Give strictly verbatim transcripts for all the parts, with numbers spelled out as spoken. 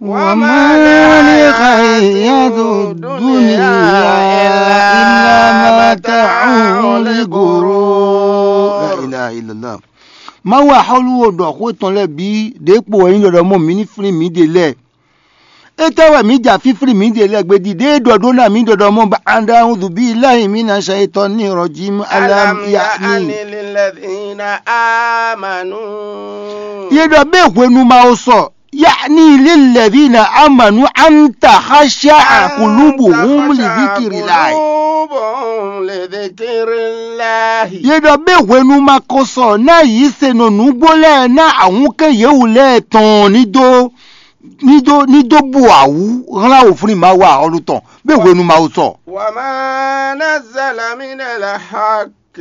وما الحياة الدنيا إلا متاع الغرور. La ilaha illallah. Mawu axɔ́lú wo ɖɔ xó tɔn lɛ́ɛ bǐ ɖěkpo wɛ nyí ɖɔɖɔ mɔ mǐ ní flín mǐɖée lɛ́ɛ. Étɛ́ wɛ mǐ ja fínflín mǐɖée lɛ́ɛ gbe ɖi ɖěe ɖɔ ɖó ná mǐ ɖɔɖɔ mɔ ba anda udu bí láyìn mí na ṣe tɔ ní ìrọ̀jí alam ألم ya ní. يأن للذين آمنوا Yě ɖɔ bɛ́ hwenu ma wo sɔ, ya ní lílɛ̀ví na amanu anta xaṣá àkùlùbù húm lìdíkìrì láì. قلوبهم لذكر الله. Yě ɖɔ bɛ́ hwenu ma ko sɔ ná yǐ se nɔ nǔgbó lɛ́ɛ ná ahúnkɛ́n yěwú lɛ́ɛ tɔn ní dó ní dó ní dó bu awǔ hlán wǒflín Mawu axɔ́lú tɔn, bɛ́ hwenu ma wo sɔ. وما نزل من الحق.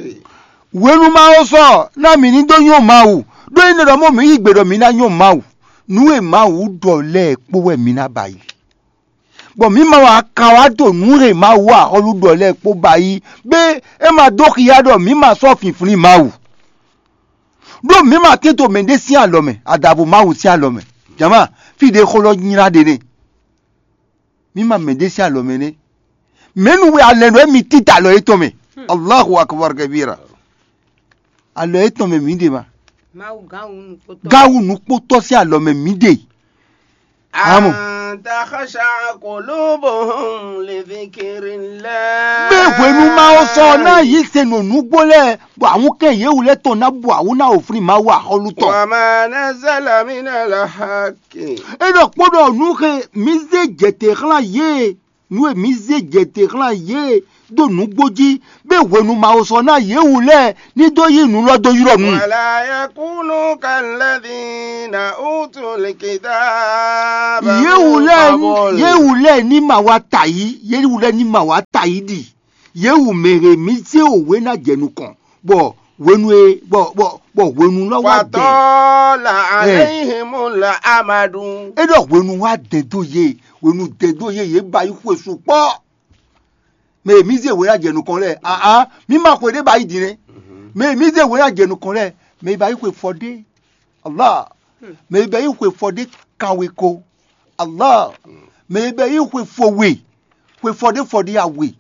Hwenu ma wo sɔ ná mǐ ní dó nyɔ́ Mawu, ɖó é nɔ ɖɔ mɔ mǐ yí gbe ɖɔ mǐ ná nyɔ́ Mawu. Nǔ e Mawu ɖɔ lɛ́ɛ kpó wɛ mǐ ná ba yi. Bɔ mǐ ma wa ka wá ɖo nǔ e Mawu axɔ́lú ɖɔ lɛ́ɛ kpó ba yi, bɛ́ é ma dó xia ɖɔ mǐ ma sɔ́ finflín Mawu. Ɖó mǐ ma tɛ́n to mɛɖé sín alɔ mɛ, adǎvo Mawu sín alɔ mɛ. Jama, fí ɖě xó lɔ nylá ɖe nɛ́. Mǐ ma mɛɖé sín alɔ mɛ nɛ́. Mɛ̌nu wɛ alɛ ɖɔ émí títá alɔ yětɔn mɛ? Allahu akbar kabira. Alɔ yětɔn mɛ mǐ ɖe ma. Mawu gán wú nukpotɔ. Gán wú nukpotɔ sín alɔ mɛ mǐ ɖe. Amɔ. أن تخشع قلوبهم لذكر الله. Bɛ́ hwenu ma wo sɔ ná yí se nɔ nǔgbó lɛ́ɛ, bɔ àwọn kɛ yě wú lɛ́ tɔn ná bu awú ná wò flín Mawu axɔ́lú tɔn. وما نزل من الحق. É ɖɔ kpó ɖɔ nǔ xe mǐ zé jɛtɛ́ xlán yě, nǔ e mǐ zé jɛtɛ́ xlán yě ɖó nǔgbó jí, bɛ́ hwenu ma wo sɔ ná yě wú lɛ́ɛ ní dó yí nǔ lɔ dó ylɔ́ nu. ولا يكونوا كالذين أوتوا الكتاب Yě wú من lɛ́ɛ قبل. Yě wú lɛ́ɛ ní ma wá ta yí, yě wú lɛ́ɛ ní ma wá ta yí ɖi. Yě wú mɛ e mǐ zé òwe ná jɛ nukɔn, bɔ hwenu e bɔ bɔ bɔ hwenu lɔ wá dɛ. فطال عليهم الأمد. É ɖɔ hwenu wá dɛ dó yě, hwenu dɛ dó yě, yě ba yi xwe sukpɔ́. Mɛ e mǐ zé hwe ná jɛ nukɔn lɛ́ɛ, aa, mǐ ma xwe ɖé ba yi din nɛ́. Mɛ e mǐ zé hwe ná jɛ nukɔn lɛ́ɛ, mɛ e ba yi xwe fɔ ɖé, Allah. Mɛ e ba yi xwe fɔ ɖé kanwe ko, Allah. Mɛ e ba yi xwe fɔ we, xwe fɔ ɖé fɔ ɖé awe.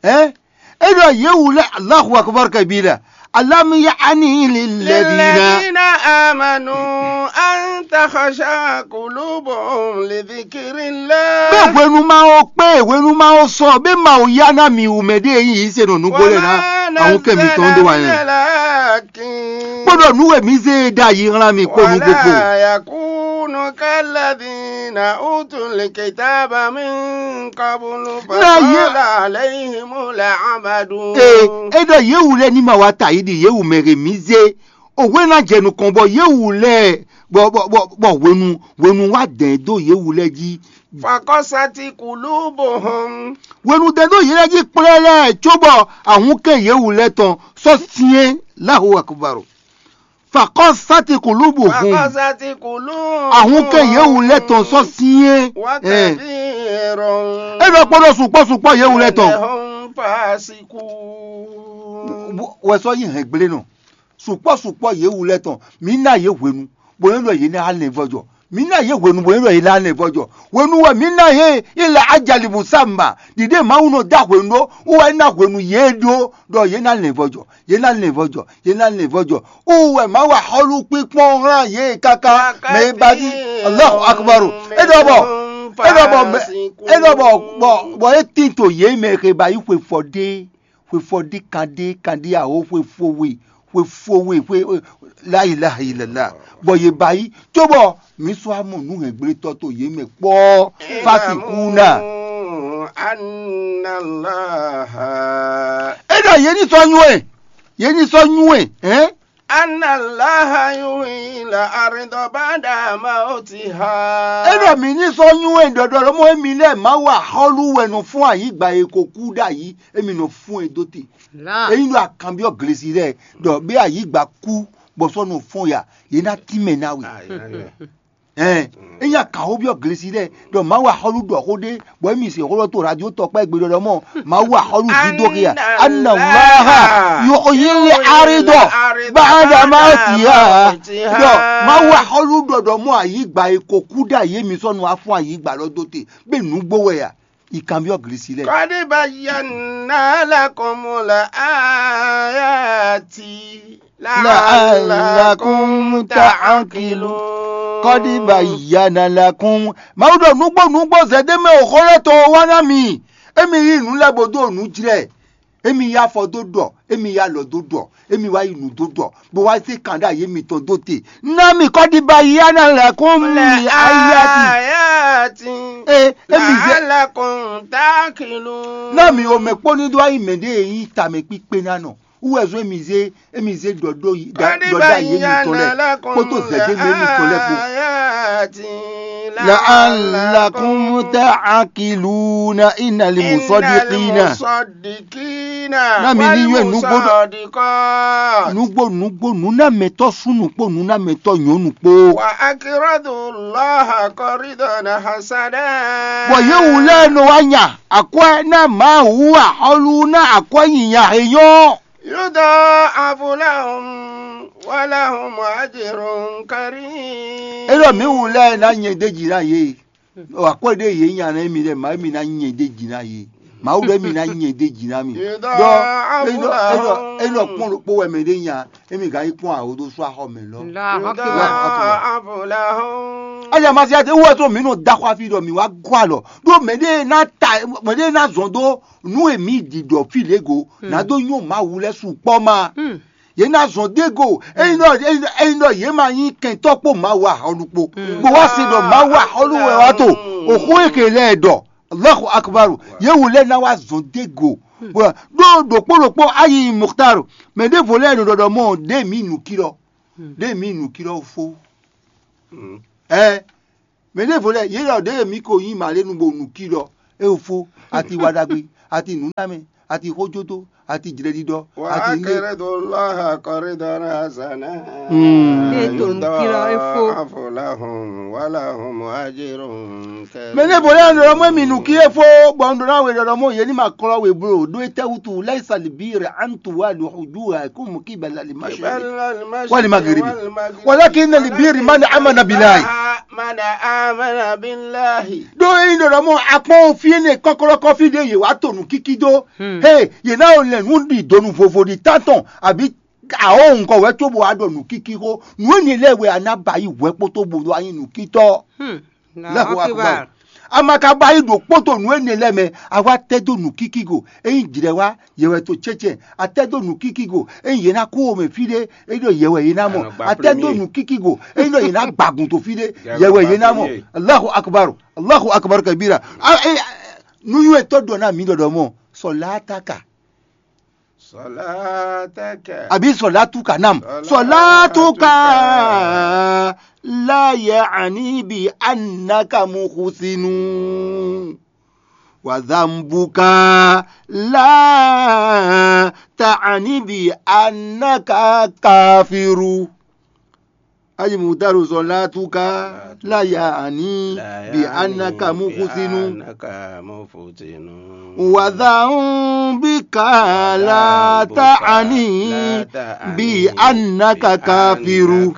Ɛn? É ɖɔ yě wú lɛ́ɛ, Allahu akbar kabira. Alam ya'ni lilladhina. للذين آمنوا أن تخشع قلوبهم لذكر الله. Bɛ́ hwenu ma wo kpé, hwenu ma wo sɔ, bɛ́ ma wo ya ná mi wú mɛ ɖé yí se nɔ nǔgbó lɛ ná. وما Àwọn kɛ mi tɔn ɖó wa نزل من yẹn. الحق. Kpódò nǔ e mi zé e ɖ'ayǐ hlán mi kpó nú gbogbo. ولا يكونوا كالذين أوتوا الكتاب من قبل Ná yé- فطال عليهم الأمد. Ee, é ɖɔ yě wú lɛ́ɛ ní ma wá ta yí ɖi yě wú mɛ e mi zé òwe ná jɛ nukɔn bɔ yě wú lɛ́ɛ bɔ bɔ bɔ bɔ hwenu hwenu wá dɛ̌n dó yě wú lɛ́ɛ jí. فقست قلوبهم. Hwenu dɛ̌n dó yě lɛ́ɛ jí kplɛ́ lɛ́ɛ cóbɔ ahúnkɛ yě wú lɛ́ɛ tɔn sɔ́ syɛ́n Allahu akbar. Fakɔsati kulubuhum. فقست قلوبهم. Ahúnkɛ yě wú lɛ́ɛ tɔn sɔ́ syɛ́n. وكثير É ɖɔ kpɔ́ ɖɔ sukpɔ́ sukpɔ́ yě wú lɛ́ɛ tɔn. منهم فاسقون. Wɛ sɔ́ yí hɛn gblé nɔ. Sukpɔ́ sukpɔ́ yě wú lɛ́ɛ tɔn. Mǐ ná yě hwenu, bó nɔ́ ɖɔ yě ná lɛn vɔ́jɔ. Mǐ ná yě hwenu, bó nɔ́ ɖɔ yě ná lɛn vɔ́jɔ. Hwenu wɛ mǐ ná yě ila ajali musamma. Ɖiɖe Mawu nɔ dó hwenu ɖó, wú wɛ é ná hwenu yě ɖó ɖɔ yě ná lɛn vɔ́jɔ. Yě ná lɛn vɔ́jɔ. Yě ná lɛn vɔ́jɔ. Wú wɛ Mawu axɔ́lú kpínkpɔ́n hlan yě káká. Mɛ e ba jí. Allahu akbar. É ɖɔ bɔ é ɖɔ bɔ bɔ bɔ é tín to yě mɛ xe ba yí xwe fɔ ɖé. Xwe fɔ ɖé kan ɖé kan ɖé awo xwe fo we xwe fo we xwe la ilaha illallah. Bɔ yě ba yí cóbɔ mǐ sɔ́ amɔ nǔhɛngblétɔ́ to yě mɛ kpɔ́. Fasi kú ná. اعلموا أن الله É ɖɔ yě ní sɔ́ nywɛ́, yě ní sɔ́ nywɛ́, hɛn? أن الله يحيي الأرض بعد موتها. É ɖɔ mǐ ní sɔ́ nywɛ́ ɖɔɖɔ lɔmɔ émí lɛ́ɛ Mawu axɔ́lú wɛ nɔ fún ayǐgba e ko kú ɖ'ayǐ, émí nɔ fún e dó te. Là. Ényí ɖo akanbyɔ́ glesi lɛ́ɛ ɖɔ bɛ́ ayǐgba kú bɔ sɔ́ nɔ fɔ́n ya, yě ná tínmɛ ná we. Ɛn, ényí a kǎn xó byɔ́ glesi lɛ́ɛ ɖɔ Mawu axɔ́lú ɖɔ xó ɖé, bɔ émí se xó ɖɔ to radio tɔkpá gbe ɖɔɖɔ mɔ Mawu axɔ́lú jí dó xia. Anna Allaha yuhyil arida ba'da mawtiha. Ɖɔ Mawu axɔ́lú ɖɔ ɖɔ mɔ ayǐgba e ko kú ɖ'ayǐ émí sɔ́ nu wá fún ayǐgba lɔ dó te, bɛ nǔgbó wɛ a? Yi kanbyɔ́ glesi lɛ́ɛ. Qad bayyana lakumul ayati la'allakum ta'qilun. Qad bayyana lakum. Mawu ɖɔ nǔgbó nǔgbó zɛ̌démɛ o xó lɛ́ɛ tɔn wá ná mi. Émi yí nǔ lɛ́ɛ bó dó nǔ jlɛ́. Émi yí afɔ dó ɖɔ, émi yí alɔ dó ɖɔ, émi wá yi nǔ dó ɖɔ, bó wá zé kan ɖó ayé mitɔn dó te. Ná mi qad bayyana lakum ayati. Ee, émi zé, la'allakum ta'qilun. Ná mi omɛ kpó ní dó wá yi mɛ ɖé e nyí tamɛ kpíkpé ná nɔ. Wú wɛ zɔ́n émi zé, émi zé ɖɔ ɖó yi, ɖɔ ɖɔ ɖó ayé mitɔn lɛ́ɛ kpódó zɛ̌démɛ mitɔn lɛ́ɛ kpó. La'allakum ta'qiluna innal musaddiqina. Ná mi ní yɔ́ nǔgbó nǔgbó nǔgbó nǔnámɛtɔ́ súnnu kpó nǔnámɛtɔ́ nyɔ̌nu kpó. Wa aqridu Allaha qardan hasana. Bɔ yě wú lɛ́ɛ nɔ wá nya akwɛ́ ná Mawu axɔ́lú ná akwɛ́ nyinya e nyɔ́. Yudha'afu lahum wa lahum ajrun karim. É ɖɔ mǐ wú lɛ́ɛ ná nyɛ d'é jí ná yě. Akwɛ́ ɖé yě nya ná émi lɛ́ɛ, Mawu émi ná nyɛ d'é jí ná yě. Mawu ɖɔ émi ná nyɛ d'é jí ná mì. Ɖɔ é nɔ é nɔ é nɔ kpɔ́n ɖokpó wɛ mɛ ɖé nya, émi gǎn yi kpɔ́n awo dó sú axɔ mɛ lɔ. Allahu akbar. Yudha'afu lahum. Aya masiya te wɔ to mǐ nɔ da xɔ afi ɖɔ mǐ wá gɔ alɔ. Ɖó mɛ ɖé ná ta mɛ ɖé ná zɔn dó nú e mǐ ɖi ɖɔ fí lě go, nǎ dó nyɔ́ Mawu lɛ́ɛ sukpɔ́ ma. Yě ná zɔn dó e go, ényí ɖɔ ényí ɖɔ yě ma nyí kɛntɔ́ kpó Mawu axɔ́ ɖokpó, bó wá se ɖɔ Mawu axɔ́ ɖo wɛ wá to, òxó e ke lɛ́ɛ ɖɔ, Allahu akbar, yě wú lɛ́ɛ ná wá zɔn dó e go. Bó ɖó ɖokpó ɖokpó ayi Muxtar, mɛ ɖěvo lɛ́ɛ nɔ ɖɔ ɖɔ mɔ ɖě mǐ nǔkí lɔ, ɖě mǐ nǔkí lɔ fó. Ɛ mɛ ɖěvo lɛ́ɛ yě ɖɔ ɖě mǐ ko nyí mǎlénu bo nǔkí lɔ, é fó, ati wa ɖagbe, ati nǔnámɛ, ati xójódó, ati jlɛɖiɖɔ, ati nɖé. Wa aqridu Allaha qardan hasana. Ní ètò nǔkí lɔ é fó. Yudha'afu lahum wa lahum ajrun karim. Mɛ ɖěvo lɛ́ɛ nɔ ɖɔ mɔ mì nǔkí é fó, bɔ un ɖɔ ná we ɖɔ ɖɔ mɔ yě ní ma klɔ́ we bló ɖó étɛ́ wútu, laisa al birra an tuwallu wujuhakum qibala al mashriqi wal maghribi. Walakinna al birra man amana billahi. Man amana billahi. Ɖó ényí ɖɔ ɖɔ mɔ akpɔ́n fí énɛ́ kɔ́klɔ́kɔ́ fí ɖé yě wá to nǔkíkí dó. He yě ná lɛn nǔ ɖi donu vovo ɖi tántɔn abǐ awɔ̌ ŋkɔ wɛ cóbɔ wá ɖɔ nǔkíkí xó. Nǔ énɛ́ lɛ́ɛ wɛ a ná ba yí hwɛ kpótó bo ɖo anyi nǔkítɔ́. Allahu akbar. A ma ka ba yí ɖo kpótó nǔ énɛ́ lɛ́ɛ mɛ, a wá tɛ́ dó nǔkíkí go. Ényí jlɛ̌ wá, yě wɛ to cɛ́cɛ́. A tɛ́ dó nǔkíkí go. Ényí yě ná kú wo mɛ fí ɖé, é ɖo yě wɛ yě ná mɔ. A tɛ́ dó nǔkíkí go. Ényí ɖɔ yě ná gbagun to fí ɖé, yě wɛ yě ná mɔ. Allahu akbar. Allahu akbar kabira. A, e, nú yún etɔ́ ɖɔ ná mǐ ɖɔɖɔ mɔ. Sɔlátaka. Sɔlátaka. Àbí sɔlátúkà náà. Sɔlátúkà. Sɔlátúkà la ya'ni bi annaka muhsinu. Wa dhanbuka la ta'ni bi annaka kafiru. Ayi mutaru sɔlátúkà la ya'ni bi annaka muhsinu. Wa dhanbuka la ta'ni bi annaka kafiru.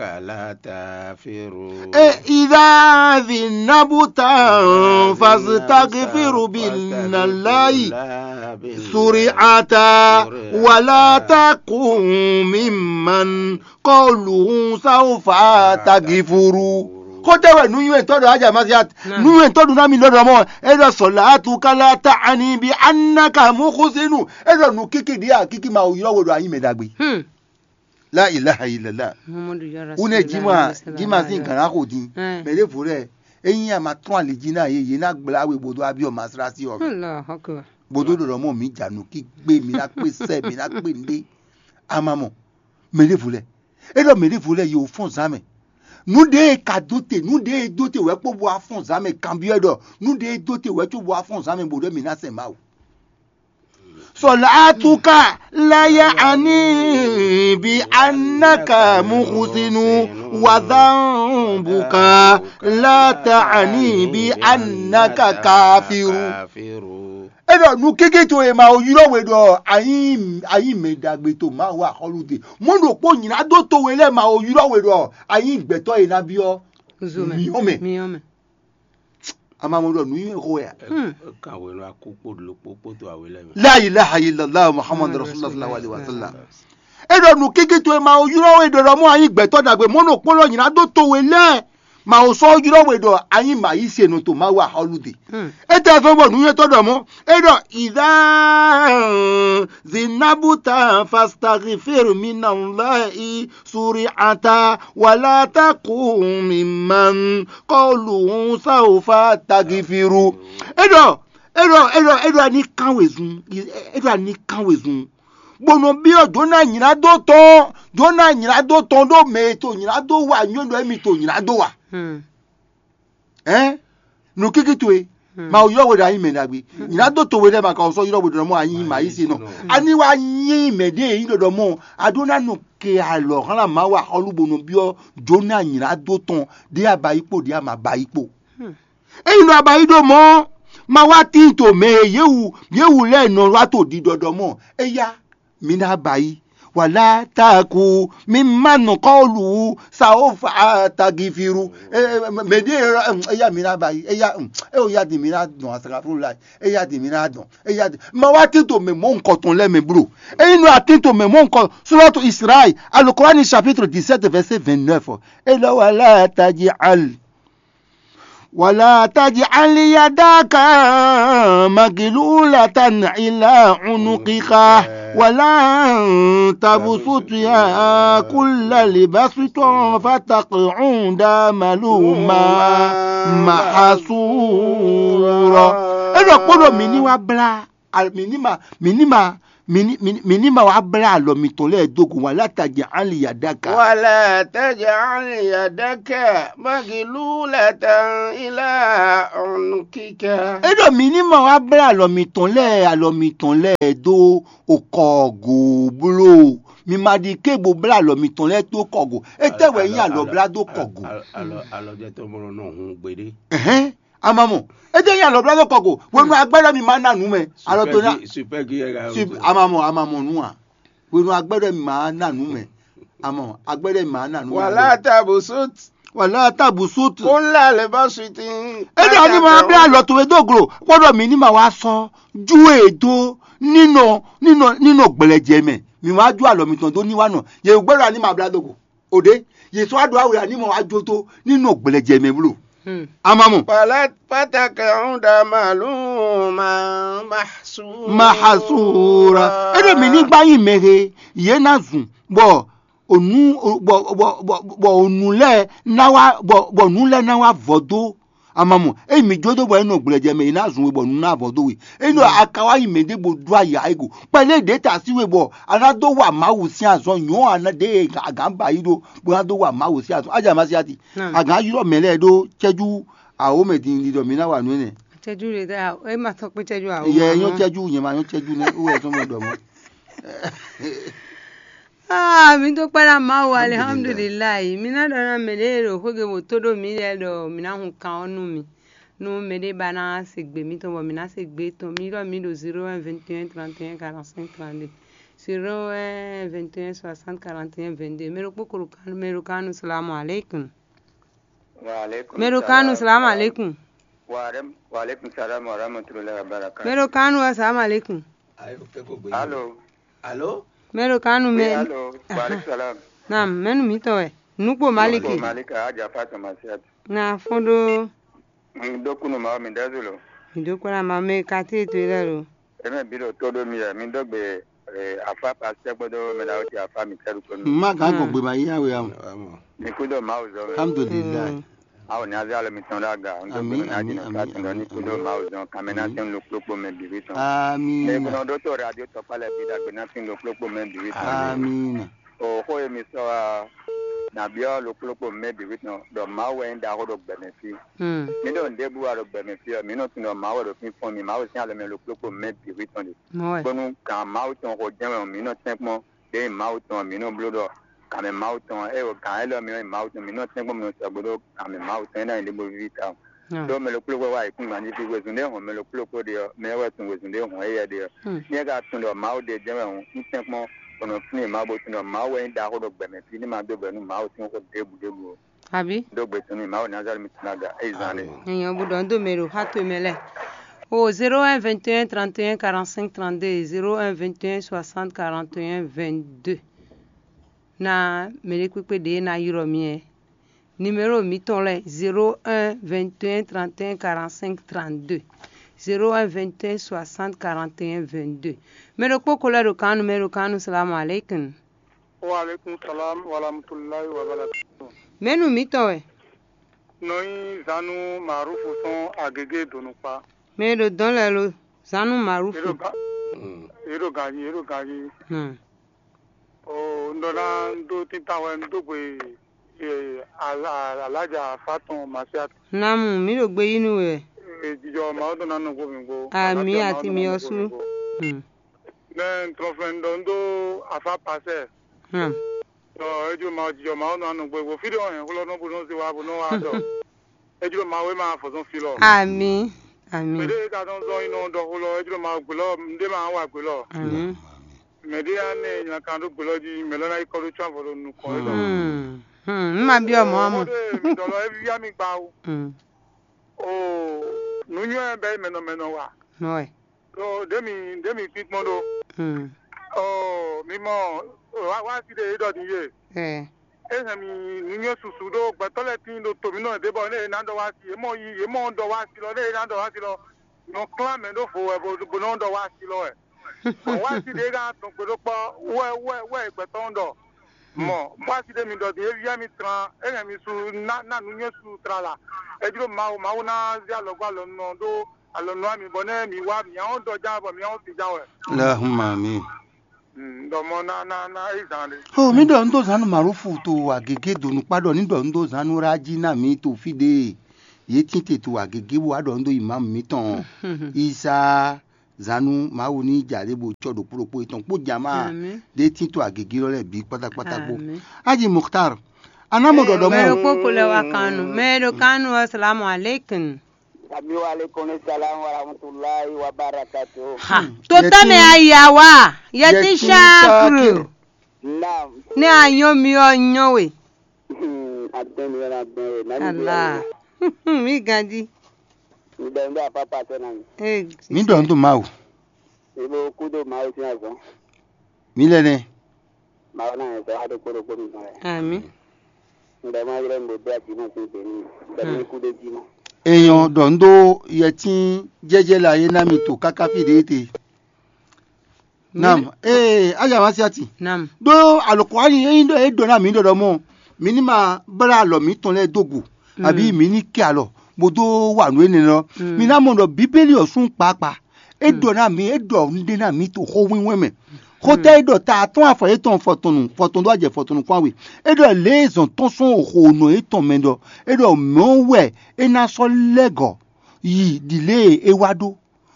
E idha dhinabta fastaghfiru billahi suri'ata wa la takun mimman qawluhu sawfa tagifuru. Xótɛ́ wɛ nǔnywɛ́tɔ́ ɖɔ ájà Masiat. Nǔnywɛ́tɔ́ ɖu ná mi ɖɔ ɖɔ mɔ é ɖɔ sɔlátúkà la ta'ni bi annaka muhsinu. É ɖɔ nǔkíkí ɖíe akíkí ma ylɔ́ we ɖo anyi mɛ ɖagbe. La ilaha illallah. Une jima jima sin gǎn xo din. Mɛ ɖěvo lɛ́ɛ, ényí a ma trɔ́n ali jí ná yě, yě ná gblá we bó dó abyɔ́ masrasi ɔ́ mɛ. Bó dó ɖɔ ɖɔ mɔ mǐ ja nǔkíkpé, mǐ ná kpé sɛ́, mǐ ná kpé nɖé. A ma mɔ. Mɛ ɖěvo lɛ́ɛ, é ɖɔ mɛ ɖěvo lɛ́ɛ yě wǒ fɔ́n zǎn mɛ. Nǔ ɖé e ka dó te, nǔ ɖé e dó te wɛ kpó bó wá fɔ́n zǎn mɛ kanbyɔ́ ɖɔ nǔ ɖé e dó te wɛ có bó wá fɔ́n zǎn mɛ bó ɖɔ mǐ ná sɛn Mawu. Sọ̀látúkà láyé àní bí anáka mùkúsínú wàdánbùkà látàní bí anáka káfíru. Káfíru. E ɖɔ nukeke towe ma wo ylɔ́ we ɖɔ a nyí a nyí mɛ ɖagbe to Mawu axɔ́lú te. Mɔ̌ ɖokpó nylá dó towe lɛ́ɛ ma wo ylɔ́ we ɖɔ a nyí gbɛtɔ́ e ná byɔ́ Zo mɛ. Miyɔ́ mɛ. Miyɔ́ mɛ. A ma mɔ ɖɔ nǔ nywɛ́ xo wɛ a? Hmm. Kan hwenu akú kpó ɖokpó kpódó awe lɛ́ɛ mɛ. La ilaha illallah Muhammadu Muhammadu Rasulullah sallallahu alaihi Rasulullah. Wasallam. E ɖɔ nukeke towe ma wo ylɔ́ we ɖɔ ɖɔ mɔ a nyí gbɛtɔ́ ɖagbe mɔ̌ ɖokpó lɔ nylá dó towe lɛ́ɛ. Ma wo sɔ́ ylɔ́ we ɖɔ a nyí mǎyísenu to Mawu axɔ́lú te. Hmm. Étɛ́ fɛ́ bɔ nǔnywɛ́tɔ́ ɖɔ mɔ̌? E ɖɔ ìdá zinabuta fastaghfir minallahi suri'ata wala takun mimman qawluhu sawfa tagfiru. E ɖɔ e ɖɔ e ɖɔ e ɖɔ a ní kán wezun, e ɖɔ a ní kán wezun. Bó nɔ byɔ́ Jona nylá dó tɔn, Jona nylá dó tɔn ɖó mɛ e to nylá dó wa nyɔ́ ɖɔ émi to nylá dó wa. Hmm. Ɛn? Nukiki towe. Hmm. Ma ylɔ́ we ɖɔ a nyí mɛ ɖagbe. Nylá dó towe lɛ́ɛ ma ka sɔ́ ylɔ́ we ɖɔ mɔ a nyí ma yí se nɔ. Ani wa nyí mɛ ɖé yi ɖɔɖɔ mɔ a ɖó ná nɔ ke alɔ hlan ma wa xɔlu bó nɔ byɔ́ Jona nylá dó tɔn ɖé a ba yi kpo ɖé a ma ba yi kpo. Hmm. Eyi nɔ a ba yi ɖo mɔ ma wa tín to mɛ e yě wu yě wu lɛ́ɛ nɔ wa to ɖiɖɔɖɔ mɔ eya mi ná ba yi. Wala taku mi ma nɔ kɔlu saofa tagifiru. Mɛ ɖe eya mi ná ba yi eya eyo ya di mi ná dɔn asakafuru la eya di mi ná dɔn eya di ma wa tito mɛ mɔ nkɔtɔn lɛ mɛ bro. Eyi nɔ atito mɛ mɔ nkɔ suratu Israel, Alukurani chapitre dix-sept verset vingt-neuf. E lɔ wala taji al. ولا تجعل يدك مغلولة إلى عنقك ولا تبسطها كل البسط فتقعد ملوما محسورا. E ɖɔ kpɔ́ ɖɔ mǐ ní wá blá, mǐ ní ma, mǐ ní ma, mǐ ní, mǐ ní, mǐ ní ma wá blá alɔ mitɔn lɛ́ɛ dó gun wala taji ali yadaka. Wala taji ali yadaka magilulatan ila unkika. E ɖɔ mǐ ní ma wá blá alɔ mitɔn lɛ́ɛ, alɔ mitɔn lɛ́ɛ dó okɔgo bló. Mi ma ɖi ké bo blá alɔ mitɔn lɛ́ɛ dó kɔgo. Étɛ́ wɛ nyí alɔ blá dó kɔgo? Alɔ, alɔ, alɔ jɛ tɔn mɔ nɔ hun gbeɖé. Ɛhɛn. Amamɔ. Ede nya lɔblɔ́ kɔ ko. Wenu agbɛ́ ɖɔ mi ma na nǔ mɛ. Alɔ to na. Super gi yɛ ga. Amamɔ, amamɔ nú a. Wenu agbɛ́ ɖɔ mi ma na nǔ mɛ. Amɔ agbɛ́ ɖɔ mi ma na nǔ mɛ. Wala tabu sut. Wala tabu sut. Kó la lè bá suti. Ede ani ma bla alɔ to we do glo. Kpɔdɔ mi ni ma wa sɔ. Ju e do. Ninɔ ninɔ ninɔ gblɛjɛ mɛ. Mi ma ju alɔ mitɔn do ni wa nɔ. Ye gbɛ́ ɖɔ ani ma bla do go. O ɖe, Yesu wá ɖo awu ya ní mɔ wá jó tó ní nɔ gblɛjɛ mɛ bló. Hmm. Amamɔ. Pàtàkì ọ̀hún dá màlúù máa máa sùn. Mahasura. E ɖo mi ní gbá yín mɛ he, yě ná zùn, bɔ ònú, bɔ, bɔ, bɔ, bɔ ònú lɛ ná wá, bɔ, bɔ nǔ lɛ ná wá vɔ dó. Amamɔ, eyi mi jó dó bɔ é nɔ gblɛjɛ mɛ, é ná zun we bɔ nǔ ná vɔ dó we. É nɔ aka wá yi mɛ ɖé bo ɖó aya ego. Kpɛlɛ ɖě ta sí we bɔ a ná dó wa Mawu sín azɔn nyɔ̌ a ná ɖe agǎn ba yi ɖó bó ná dó wa Mawu sín azɔn. Ájà má sí ati. Agǎn ylɔ́ mɛ lɛ́ɛ ɖó cɛ́jú awǒmɛ din ɖiɖɔ mi ná wa nǔ énɛ́. Cɛ́jú ɖe ta é ma sɔ́ kpé cɛ́jú awǒmɛ. Yɛ nyɔ́ cɛ́jú nyɛ ma nyɔ́ cɛ́jú nɛ́ wú wɛ tɔn mɛ ɖɔ mɔ. Ah, mi dúpẹ́ ná Mawu, alihamdulilayi. Mi ná ɖɔ ná mɛ ɖé ɖo xwégbe bó tó ɖó mi lɛ́ɛ ɖɔ mi ná hun kan ɔ́ nú mi. Nú mɛ ɖé ba ná se gbe mitɔn bɔ mi ná se gbe tɔn, mi ɖɔ mi ɖo zéro un vingt et un trente et un quarante-cinq trente-deux. Zéro un vingt et un soixante quarante et un vingt-deux. Mɛ ɖokpó ko ɖo kan, mɛ ɖo kan nu, salamu aleykum. Wa aleykum. Mɛ ɖo kan nu, salamu aleykum. Wa aleykum salam wa rahmatulahi wa barakatuh. Mɛ ɖo kan nu, salamu aleykum. Alo. Alo. Mɛ ɖo kan nu mɛ. Alo. Wa aleykum salam. Naam, mɛnu mitɔn wɛ? Nukpo Maliki. Nukpo Malika, Aja Fatima Siat. Na fɔn ɖo. Mi ɖo kunu ma mi ɖe zolo. Mi ɖo kunu ma mi kati to lɛ lo. Eme bi ɖo to ɖo mi mi ɖo gbe afa pasitɛ kpodo mɛ ɖawo ti afa mi kɛɖu kɔnu. Ma kan gbɔn gbe ma yi awe amu. Mi kudo Mawu zɔ. Alhamdulillah. Awo ni azé alo mitɔn ɖo aga. Ami, ami, ami, ami, ami. Ni kudo Mawu zɔn kamɛ na tɛn lo kplokpo mɛ bibi tɔn. Ami. Ne kuno ɖo to radio tɔkpa lɛ bi dagbe na tɛn lo kplokpo mɛ bibi tɔn. Ami. O xo ye mi sɔ wa. Nǎ byɔ́ ɖokpó ɖokpó mɛ bǐ wí tɔn ɖɔ Mawu wɛ nyí ɖaxó ɖo gbɛmɛ fí. Hmm. Mǐ ɖo nǔɖé bú wa ɖo gbɛmɛ fí ɔ́, mǐ nɔ tunwun ɖɔ Mawu wɛ ɖo fínfɔ́n mì, Mawu sín alɔ mɛ ɖokpó ɖokpó mɛ bǐ wí tɔn ɖe. Mɔwɛ. Bónú gǎn Mawu tɔn xo jɛ́n wɛ mǐ nɔ tɛ́nkpɔ́n, ɖěe nyí Mawu tɔn ɔ́, mǐ nɔ bló ɖɔ gǎnmɛ Mawu tɔn ɔ́, é ɖo gǎn élɔ́ mɛ ɔ́ nyí Mawu tɔn, mǐ nɔ tɛ́nkpɔ́n mǐ nɔ sɔgbe ɖó gǎnmɛ Mawu tɔn é ná nyí ɖěvo víví tawun. Hmm. Ɖó mɛ ɖokpó ɖokpó wá yi kúngban jí fí wezun ɖé hɔn mɛ ɖokpó ɖokpó ɖe ɔ́, mɛ ɔ́ wɛ tunwun wezun ɖé hɔn éyɛ́ ɖe ɔ́. Hmm. Ní é ka tunwun ɖɔ Mawu ɖe jɛ́n wɛ hǔn, un tɛ́nkpɔ́n bɔ nɔ flín Mawu bó tunwun ɖɔ Mawu wɛ nyí ɖaxó ɖo gbɛmɛ fí ní ma dó bɛ̌ nú Mawu sín xó ɖěbǔ ɖěbǔ ó. Abǐ? Ɖó gbe tɔn nú Mawu Nazalɛ́ti tɔn aga é zán ɖé. Èèyàn bu ɖɔ ń dó mɛ ɖo xá towe mɛ lɛ́ɛ. O zéro un vingt et un trente et un quarante-cinq trente-deux, zéro un vingt et un soixante quarante et un vingt-deux. Na mɛ ɖé kpékpé ɖě ná ylɔ́ mi ɛ. Numéro mǐtɔn lɛ́ɛ zéro un vingt et un trente et un quarante-cinq trente-deux, zéro un vingt et un soixante quarante et un vingt-deux. Mɛ ɖokpó ko lɛ́ ɖo kan nú mɛ ɖo kan nú salamu aleykum. Wa aleykum salam wa rahmatulahi wa barakatuh. Mɛ̌nu mǐtɔn wɛ? Nɔ nyí zanu Marufu sɔn agege donukpa. Mɛ e ɖo dɔn lɛ́ɛ lo zanu Marufu. Eɖo ga eɖo ganyi eɖo ganyi. Hmm. O un ɖɔ ná un ɖó títàn wɛ un dó gbe alaja fatɔn masiat. Namu, mǐ ɖo gbe yí nú we. Jijɔ Mawu dɔn ná nɔ gbó mi gbó. Ami ati mi ɔsu. Hmm. Nɛ un trɔn flɛn un ɖɔ un ɖó afa pasɛ. Hmm. Ɔ, ejo ma jijɔ ma nɔ anɔ gbɛ gbɔ fi ɖe ɔ hɛn xlɔ nɔ bo nɔ se wa bo nɔ wa dɔ. Ejo ma we ma fɔ sɔn fi lɔ. Ami. Ami. Mɛ ɖe ka nɔ zɔn yi nɔ dɔ xlɔ ejo ma gbelɔ nde ma wa gbelɔ. Ami. Mɛ ɖe ya ne nya kan ɖo gbelɔ ji mɛ lɔ na yi kɔ ɖo tsɔn avɔ ɖo nukɔn e dɔ. Hmm. Hmm. Ma biɔ mɔ amɔ. Mɔdé mi dɔ lɔ evi ya mi gba o. Hmm. O nu nyɔ bɛ mɛ nɔ mɛ nɔ wa. Nɔ ɛ. Ɖo ɖěmi ɖěmi kpínkpɔ́n ɖó. Hmm. Ɔ mi mɔ wá wá sí ɖe é ɖɔ din yé. Ɛ. É hɛn mi nǔnywɛ́ susu ɖó gbɛtɔ́ lɛ́ɛ tíin ɖo to mǐ nɔ ɖě bɔ nɛ è nǎ ɖɔ wá sí é mɔ yi é mɔ ɖɔ wá sí lɔ nɛ è nǎ ɖɔ wá sí lɔ nɔ klán mɛ ɖó vo wɛ bó bó nɔ ɖɔ wá sí lɔ wɛ. Bɔ wá sí ɖě ká tɔn gbe ɖó kpɔ́ wɛ wɛ wɛ gbɛtɔ́ ɖɔ mɔ wá sí ɖě mi ɖɔ din é vía mi tran é hɛn mi su ná ná nǔnywɛ́ su tran la. É jló Mawu Mawu ná zé alɔgbó alɔ nɔ ɖó alɔ nɔ mi bɔ nɛ mi wá mi ahɔn dɔ já bɔ mi ahɔn ti já wɛ. Lahuma mi. Dɔmɔ na na na eyi zan de. O mi ɖɔ un ɖó zanu marufu to agege do nukpa ɖɔ ní ɖɔ un ɖó zanu raji na mi to fi ɖe ye tinte to agege bo wa ɖɔ un ɖó imam mitɔn isa zanu mawu ní ja ɖe bo tsɔ ɖo kpó ɖokpó etɔn kpó jama ɖe tin to agege lɔ lɛ bi kpata kpata kpó. Aji Mukhtar, anamɔ ɖɔɖɔ mɔ. Mɛ ɖokpó ko lɛ wa kanu mɛ ɖo kanu asalamu aleykum. Ami wa aleykum salam wa rahmatulahi wa barakatu. Ha. Tó tɛmɛ aya wa yɛtin shakuru. Naam. Ní ayɔn mi ɔ nyɔ we. Adɛn mi yɛn adɛn we nani bi. Ala. Mi ganji. Mi dɛn bɛ apapa tɛ na mi. Ee. Mi dɔn to mawu. Ibo kudo mawu sin azɔn. Mi lɛ nɛ. Mawu na yɛn sɔ ado kpóɖokpó mi tɔn lɛ. Ami. Ŋdɔ ma ylɔ mi bo do aji ma sin gbɛ n'i. Bɛ mi kudo ji ma. Èèyàn ɖɔ ń ɖó yɛtín jɛjɛ la yé ná mi to káká fí ɖé te. Nam, ee, aja ma siati. Nam. Ɖó alɔkɔ anyi eyin ɖɔ e ɖɔ na mi ɖɔɖɔ mɔ, mi ní ma blá alɔ mǐtɔn lɛ́ɛ dó gu, àbí mi ní kɛ alɔ bó dó wa nǔ énɛ́ lɔ. Mi ná mɔ ɖɔ bíbélì ɔ́ sún kpakpa. É ɖɔ ná mi, é ɖɔ nǔɖé ná mi to xó wínwɛ́n mɛ. Xótɛ́ é ɖɔ ta atɔ́ɔ́n afɔ yětɔn fɔtɔnnu fɔtɔn ɖó ajɛ fɔtɔnnu kpán we. É ɖɔ lě e zɔn tɔn sɔn xo nɔ yětɔn mɛ ɖɔ é ɖɔ mɛ̌ wɛ é ná sɔ́ lɛ́ gɔ̌ yi ɖi lě e é wá ɖó.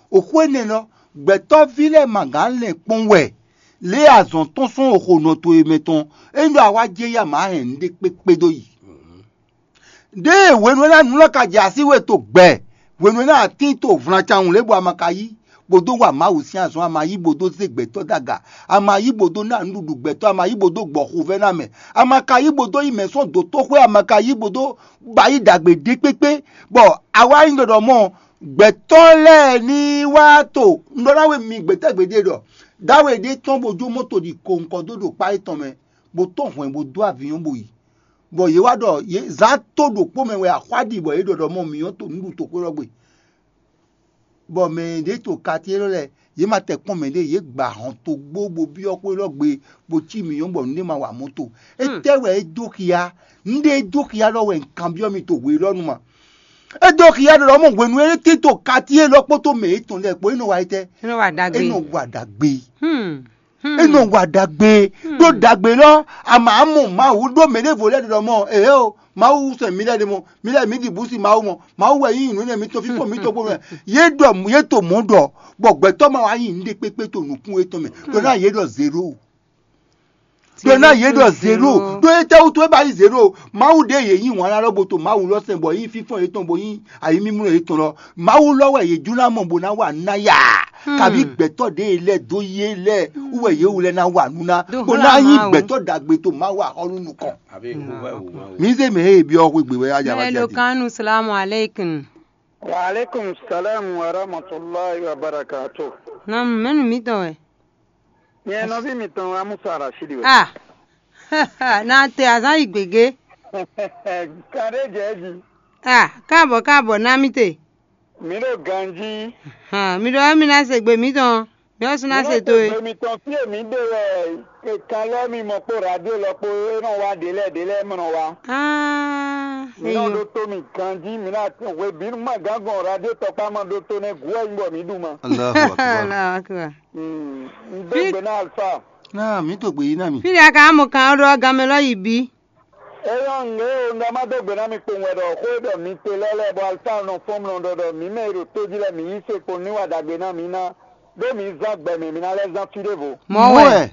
Oxó énɛ́ lɔ, gbɛtɔ́ví lɛ́ɛ ma gǎn lɛn kpɔ́n wɛ lě e azɔn tɔn sɔn xo nɔ towe mɛ tɔn, é nyí ɖɔ a wá jɛ ya mǎ hɛn nǔɖé kpékpé dó yi. Ɖěe hwenu e ná nǔ lɔ ka jɛ así we to gbɛ, hwenu e ná atín to vlancawun lě bɔ a ma ka yí, bó dó wa Mawu sín azɔn, a ma yí bó dó zé gbɛtɔ́ dó aga, a ma yí bó dó ná nǔɖuɖu gbɛtɔ́, a ma yí bó dó gbɔ xovɛ́ ná mɛ, a ma ka yí bó dó yi mɛ sɔ́ dǒtoxwé, a ma ka yí bó dó ba yí ɖagbe ɖé kpékpé, bɔ a wá nyí ɖɔɖɔ mɔ gbɛtɔ́ lɛ́ɛ ní wá to un ɖɔ ná we mi gbɛtɛ́ gbeɖé ɖɔ dáwe ɖé tɔn bó jó mɔto ɖi ko nukɔn dó ɖo kpá étɔn mɛ, bó tɔn hwɛ̌n bó dó avǐnyɔ́n bó yi. Bɔ yě wá ɖɔ yě zán tó ɖokpó mɛ wɛ axwá ɖi bɔ yě ɖɔ ɖɔ mɔ mǐ nyɔ́ to nǔɖuɖu toxwé lɔ gbe. Bɔ mɛ ɖě to kati élɔ́ lɛ́ɛ, yě ma tɛ kpɔ́n mɛ ɖé, yě gba hɔn togbó bó byɔ́ xwé lɔ gbe bó cí mǐ nyɔ́ bɔ nǔɖé ma wa mɔ́ to. Étɛ́ wɛ é dó xia? Nǔɖé é dó xia lɔ wɛ un kanbyɔ́ mi to hwe élɔ́ nu ma. É dó xia ɖɔ mɔ hwenu e é tín to kati élɔ́ kpódó mɛ yětɔn lɛ́ɛ kpó é nɔ wa étɛ́? É nɔ wa ɖagbe. É nɔ wa ɖagbe. Hmm. É nɔ wa ɖagbe ɖó ɖagbe lɔ. Ama mɔ Mawu ɖó mɛ ɖěvo lɛ́ɛ ɖɔ mɔ ehe o, Mawu sɛn mi lɛ́ɛ ɖe mɔ, mi lɛ́ɛ mi ɖi bǔsi Mawu mɔ, Mawu wɛ yí nǔ nɛ mitɔn fífɔ mitɔn kpó mɛ. Yě ɖɔ yě to mɔ̌ ɖɔ bɔ gbɛtɔ́ ma wá nyi nǔɖé kpékpé to nǔkún yětɔn mɛ ɖɔ ná yě ɖɔ zero. Ɖɔ ná yě ɖɔ zero. Ɖó étɛ́wútu é ba nyí zero? Mawu ɖě yě yí wǎn ná lɔ bo to Mawu lɔ sɛn bɔ yí fífɔ́n yětɔn bo yí ayǐmímlɔ́ yětɔn lɔ. Mawu lɔ wɛ yě jló ná mɔ bó ná wa ná ya. Kabí gbɛtɔ́ ɖě lɛ́ɛ dó yé lɛ́ɛ wú wɛ yě wú lɛ́ɛ ná wa nú ná bó ná nyí gbɛtɔ́ ɖagbe to Mawu axɔ́nú nukɔn. Mǐ zé mɛ e byɔ́ xwé gbe wɛ á ja wá Mɛlo ja. Kanu salamu alaikum. Wa alaikum salam wa rahmatullahi wa barakatuh. Nam mɛnu mitɔn wɛ. Nyɛ nɔví mitɔn Amusa Rashidi wɛ. Ah, na te azan yi gbegbe. Kade jɛ ji. Ah, káàbọ̀ káàbọ̀ ná mi te. Mi ɖo ganji. Ah, mi ɖɔ mi ná se gbe mitɔn. Mi ɔ́ sún ná se to e. Gbe mitɔn fí e mi ɖe wɛ kan lɔ mi mɔ kpó radio lɔ kpó e nɔ wá ɖě lɛ́ɛ ɖě lɛ́ɛ mɔ nɔ wá. Ah, Mi nɔ eyo. Ɖo to mi ganji mi ná hwebǐnu ma gán gbɔn radio tɔkpá ma ɖo to nɛ gu wɛ nyí bɔ mi ɖu ma. Allahu akbar. Allahu akbar. Un dó gbe ná alfa. Náà mǐ to gbě yí ná mì. Fí ɖé a ka mɔ kan ɔ́ ɖó aganmɛ lɔ yi bí. Eyɔ́ nǔ e un ɖɔ má dó gbe ná mi kpowun wɛ ɖɔ xó e ɖɔ mi te lɛ́ɛ lɛ́ɛ bɔ alfa nɔ fɔ́n mlɔ ɖɔ ɖɔ mǐ mɛ e ɖo tójí lɛ́ɛ mǐ yí se kpo ní wa ɖagbe ná mǐ ná ɖó mǐ zán gbɛ mɛ mǐ ná lɛ́ zán fí ɖěvo. Mɔ̌ wɛ.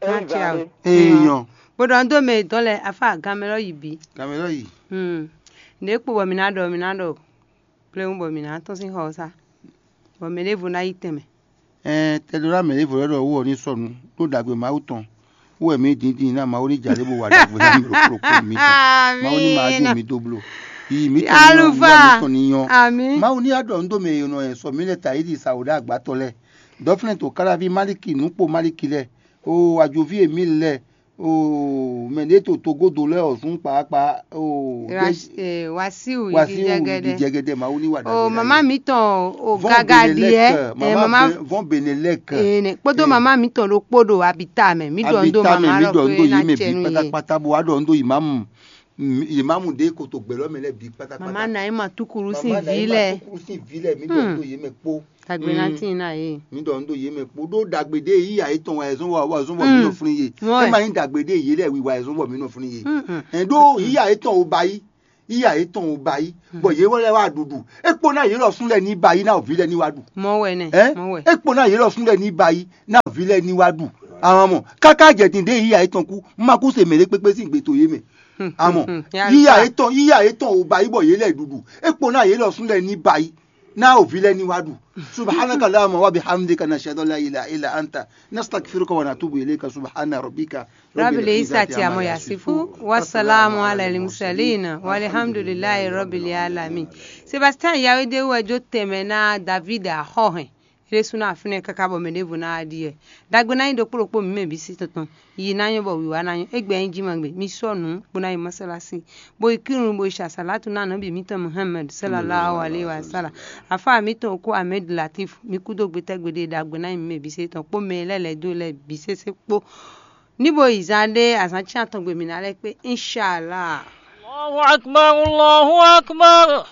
Ée zán ɖé. Eyɔn. Bó ɖɔ un dó mɛ e dɔn lɛ afá aganmɛ lɔ yi bí. Gamɛ lɔ yi. Hmm. Nǔ e kpo bɔ mǐ ná ɖɔ mǐ ná ɖɔ pléwu bɔ mǐ ná tɔ́n sín xɔ ɔ́ sá. Bɔ mɛ ɖěvo ná yi tɛnmɛ. Ɛɛ tɛɖó ná mɛ ɖěvo lɛ́ɛ ɖɔ wú ɔ ní sɔnu ɖó ɖagbe Mawu tɔn wú wɛ mǐ dǐndín ná Mawu ní jà ɖěvo wa ɖagbe ná mǐ ɖo kplokplo mǐ tɔn. Mawu ní ma jó mǐ dó bló. Yi mǐ tɔn ní nyɔ́, Alufa. Mǐ tɔn ní nyɔ́. Amí. Mawu ní aɖɔ nǔ dó mɛ e nɔ sɔ mǐ lɛ ta yi ɖi sa wǒ ɖe agbatɔ lɛ́ɛ. Dɔflɛ́n to Káláví Maliki nǔkpo Maliki lɛ́ɛ. O ajoví e mǐ lɛ́ɛ. O mɛ ɖě to togodo lɛ́ɛ ɔ́ zún kpaakpa. O Wasiu Wasiu jɛgɛdɛ. Jɛgɛdɛ Mawu ní wa ɖagbe. O mama mitɔn o gaga diɛ. Mama vɔn Benelɛk. Ene kpódó mama mitɔn ɖokpó ɖo abita mɛ. Mi ɖɔ ndo mama mi ɖɔ ndo yi mɛ bi pátápátá bo wa ɖɔ ndo yi mamu. Yi mamu ɖe koto gbɛlɔ mɛ lɛ bi pátápátá. Mama na yi ma tukuru sin vi lɛ. Tukuru sin vi lɛ mi ɖɔ ndo yi mɛ kpó. Dagbe na tin na ye. Mi ɖɔ ndo yi mɛ kpó ɖó dagbe ɖe yi ya etɔn wa ezɔn wa wa ezɔn wa mi nɔ flin ye. E ma yin dagbe ɖe yi lɛ wi wa ezɔn wa mi nɔ flin ye. Ɛn ɖó yi ya etɔn o ba yi. Iya yětɔn ò ba yí, bɔ yě wɛ lɛ́ wá ɖuɖu. É kpó ná yě lɔ sún lɛ́ɛ ní ba yí ná vǐ lɛ́ɛ ní wá ɖu. Mɔ̌ wɛ nɛ. Ɛ? Mɔ̌ wɛ. É kpó ná yě lɔ sún lɛ́ɛ ní ba yí ná vǐ lɛ́ɛ ní wá ɖu. Àwọn mɔ káká jɛ din ɖé yíya yětɔn kú, má kú se mɛ ɖé kpékpé sín gbe to yě mɛ. Àmọ́ yíya yětɔn yíya yětɔn ò ba yí bɔ yě lɛ ɖuɖu. É kpó ná yě lɔ sún lɛ́ɛ ní ba yí ná vǐ lɛ́ɛ ní wá ɖu. Subhanaka Allahumma wa bihamdika, nashhadu an la ilaha illa anta, nastaghfiruka wa natubu ilayka. Subhana rabbika Rabbil izzati amma yasifu, wa salamu ala al mursalin, walhamdulillahi rabbil alamin. Sebastian Yawede wɛ jó tɛnmɛ ná David axɔ́hɛn. Ɖésú ná afinɛ káká bɔ mɛ ɖěvo ná wá ɖi wɛ. Dagbe ná nyí ɖokpó ɖokpó mǐ mɛ bǐ sí tɔntɔn. Yi ná nyɔ́ bɔ wǐwá ná nyɔ́. Égbé nyí jí ma gbe. Mi sɔ́ nǔ bó ná yi mɔsálásí. Bo yi kírun bo yi ṣàṣàlátù ná nɔ́ bǐ mǐtɔn Muhammad sallallahu alaihi wa sallam. Afá mǐtɔn okó Ahmed Latif mi kú dó gbétɛ́gbé ɖé dagbe ná nyí mǐ mɛ bǐ sí tɔn kpó mɛ lɛ́ lɛ̌ dó lɛ́ bǐ sésé kpó. Ní bo yi zán ɖé azǎn cyán tɔn gbe mǐ ná lɛ́ kpé, inshallah. Allahu akbar, Allahu akbar.